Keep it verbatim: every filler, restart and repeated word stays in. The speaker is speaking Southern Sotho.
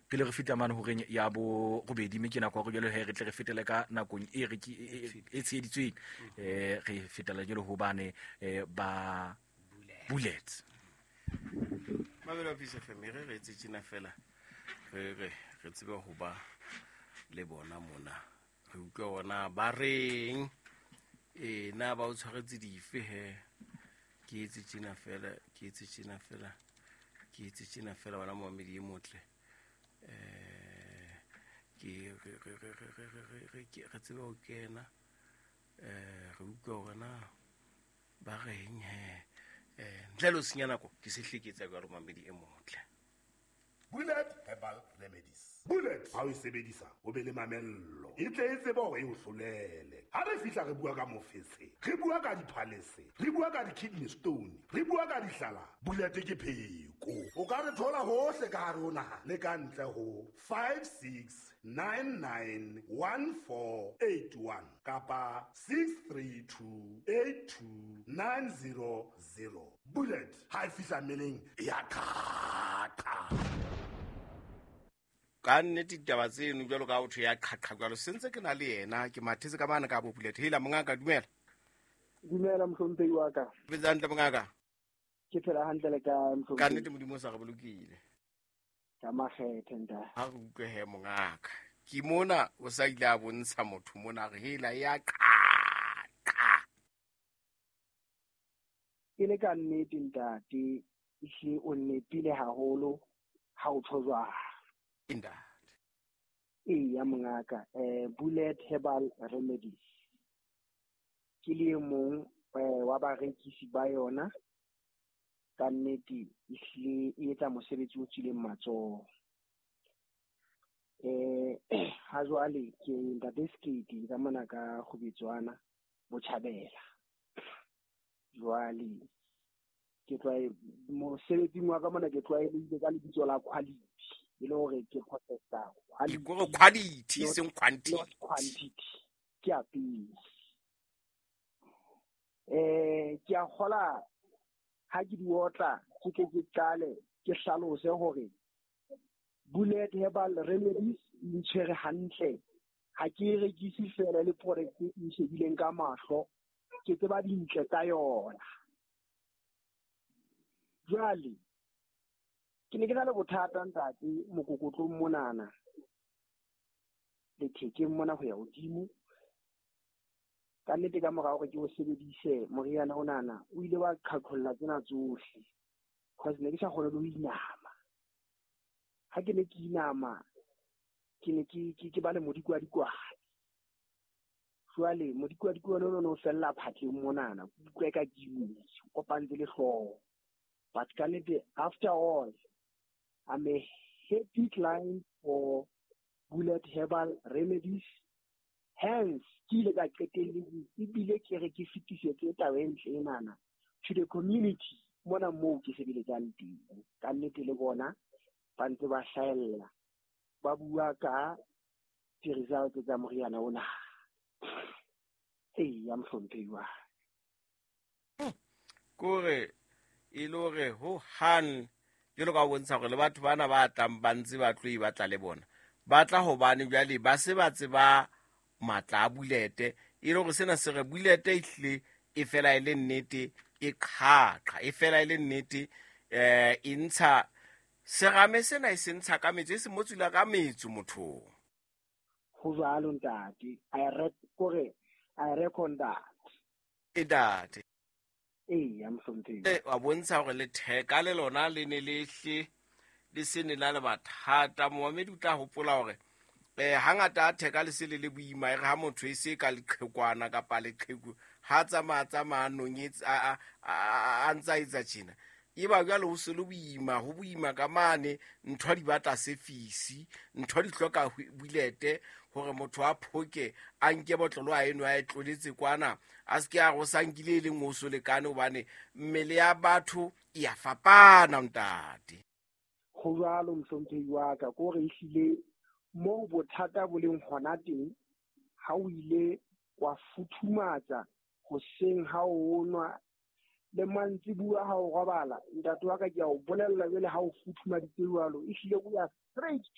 Pele re feta mane horeng ya borobedi, mme ke nako ya hore jwale he re tle re fetele ka nakong e re e tsheheditsweng. Eh re fetela jwale hobane eh ba Bullet. Mabelo a Peace F M re re etse tjena fela re re re tsebe ho ba le bona mona. Re utlwe ona ba reng e na ba o tshwaretse dife he. Ke etse tjena fela, ke etse tjena fela, ke etse tjena fela bana momedi e motle. Eh ke re re re re re re re ke re tsebe ho kena eh re utlwe hore na ba reng he. Eh ntle le ho senya nako ke se hleketsa ka momedi e motle. Bullet Herbal Remedies. Bullet ha o e sebedisa o be le mamello. E tle e tsebe hore e o hlolele. Ha re fihla re bua ka mofetshe, re bua ka diphalese, re bua ka di-kidney stone, re bua ka dihlala. Bullet ke pheko. O ka re thola hohle ka hare ho naha le ka ntle ho five six nine nine one four eight one kapa six three two eight two nine zero zero. Bullet ha e fihla mmeleng ya qhaqa. Ka nnete ditaba tseno jwalo ka ho thwe ya qhaqha jwalo, se ntse ke na le yena ke mathetse ka mane ka bo Bullet. Hela mongaka, dumela. Dumela mohlomphehi wa ka. Phetse hantle mongaka? Ke phela hantle le kae mohlomphehi? Ka nnete Modimo o sa re bolokile. Ka makgethe ntate. Ha re utlwe he mongaka. Ke mona o sa ile a bontsha motho mona re hela ya qhaqa. E le ka nnete ntate, ehlile o nnepile haholo ha o tjho jwalo. Ntate. Eya mongaka, eh Bullet Herbal Remedies. Ke le e mong wa barekisi ba yona. Ka nnete ehlile e etsa mosebetsi o tswileng matsoho. Eh ha jwale ke ntate Skate ka mona ka Kgubetswana Botjhabela. Jwale ke tlwae mosebetsing wa ka mona ke tlwaelehile ka lebitso la quality. E le hore ke processor quality, quality seng quantity, quantity ke a pele. Eh ke a kgola ha ke di otla ke ke ke qale ke hlalose hore Bullet Herbal Remedies e ntshwere hantle. Ha ke e rekise fela le product e nshebileng ka mahlo, ke tseba dintle tsa yona. Jwale ke ne ke na le bothata ntate mokokotlong monana lethekeng mona ho ya hodimo. Ka nnete ka mora hore ke o sebedise moriana onana o ile wa qhaqholla tsena tsohle, cause ne ke sa kgone le ho inama. Ha ke ne ke inama ke ne ke ke ba le modikwadikwane. Jwale modikwadikwane ono o fella phatleng monana, ke utlwa eka ke imile, o kopantse le hlooho. But ka nnete after all, I'm a happy client for Bullet Herbal Remedies. Hence, ke ile ka qetelletse ebile ke re ke fetisetse taba e ntle enana to the community mona moo ke sebeletsang teng. Ka nnete le bona ba ntse ba hlahella, ba bua ka di-results tsa moriana ona. Eya mohlomphehi wa kore e le hore ho hang jwalo ka ho bontsha hore le batho bana ba tlang ba ntse ba tlo e batla le bona ba tla hobane jwale ba se ba tseba matla a Bullet. E le hore sena se re Bullet ehlile e fela e le nnete, e qhaqa e fela e le nnete, eh e ntsha serame sena e se ntsha ka metso, e se motsula ka metso mothong. Ho jwalo ntate, I read kore I reckon that. E ntate. Eya mohlomphehi. E wa bontsha hore letheka le lona le ne le hle le se ne la le mathata. Momamedi o tla hopola hore eh hangata a theka le se le le boima, e re ha motho e se ka leqhekwana kapa leqheku ha tsamaya tsamaya nonyetse a a ntsa etsa tjena, e ba jwale ho se le boima, ho boima ka mane ntho di batla sefisi, ntho di hloka Bullet hore motho a phoke a nke botlolo a eno a e tloletse kwana, a se ke a go sa nkile e leng o so lekane, hobane mmele ya batho e ya fapana ntate. Ho jwalo mohlomphehi wa ka, ke hore ehlile moo bothata bo leng hona teng, ha o ile wa futhumatsa hoseng ha o nwa le mantsibuya ha o robala, ntate wa ka ke a o bolella jwale ha o futhumaditse jwalo, ehlile o ya straight to